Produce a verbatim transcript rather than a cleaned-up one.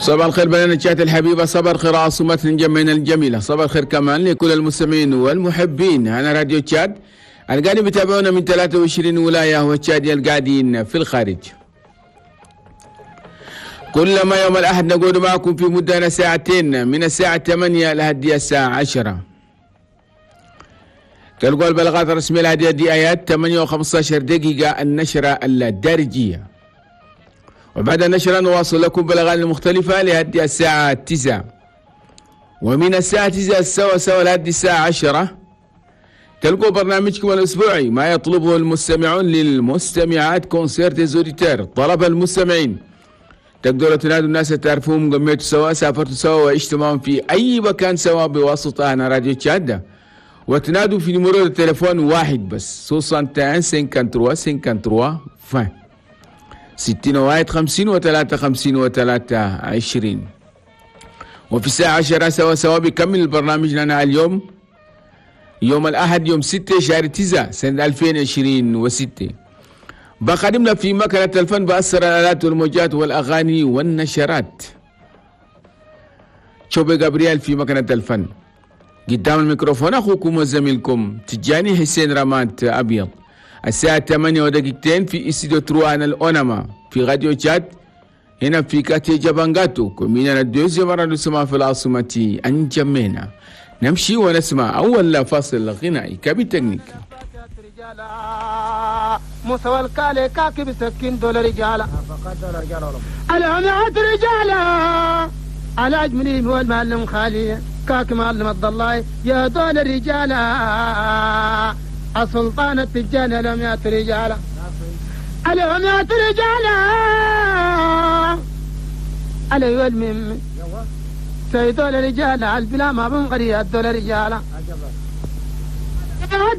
صباح الخير بلدنا تشاد الحبيبة، صباح الخير عاصمة انجمينا الجميلة، صباح الخير كمان لكل المستمعين والمحبين. هنا راديو تشاد القاعدين بيتابعونا من ثلاثة وعشرين ولاية والتشادية القاعدين في الخارج. كلما يوم الأحد نقول معكم في مدة ساعتين من الساعة ثمانية لحد الساعة عشرة. تلقوا البلاغات الرسمية لهذه دي آيات ثمانية وخمسة عشر دقيقة النشرة الدارجية، وبعد النشرة نواصل لكم بلاغات المختلفة لهذه الساعة تسعة، ومن الساعة تسعة سوا سوا لهذه الساعة عشرة تلقوا برنامجكم الأسبوعي ما يطلبه المستمعون للمستمعات، concert des auditeurs، طلب المستمعين. تقدروا تنادوا الناس تعرفوهم، قميتوا سوا، سافرتوا سوا، وعشتوا معهم في أي مكان سوا بواسطة هنا راديو تشاد، وتنادوا في numéro التليفون واحد بس واحد وستين ثلاثة وخمسين ثلاثة وخمسين عشرين، ستين واحد خمسين وثلاثة خمسين وثلاثة عشرين. وفي الساعة عشرة سوا سوا بيكمل البرنامج لنا اليوم، يوم الأحد يوم ستة شهر تسعة سنة ألفين وعشرين وستة. بقدمنا في مكنة الفن بأسر الآلات والموجات والأغاني والنشرات شوبي جابرييل في مكنة الفن. قدام الميكروفون أخوكم وزميلكم تجاني حسين رمات أبيض. الساعة ثمانية ودقيقتين في استوديو trois هنا الأونما في راديو تشاد هنا في quartier جابانجاتو، commune deuxième arrondissement في العاصمة أنجمينا. نمشي ونسمع أول فاصل غنائي. cabine technique. موسى والكالي كاكي بسكين دول رجالة العمات رجالة على أجملين هو المعلم خالي كاكي معلم الضلاي يا دول الرجالة السلطان التجاني لم يأت رجالة العمات رجالة علي والمم سيدول الرجال البلا ما بنغري الدول رجالة.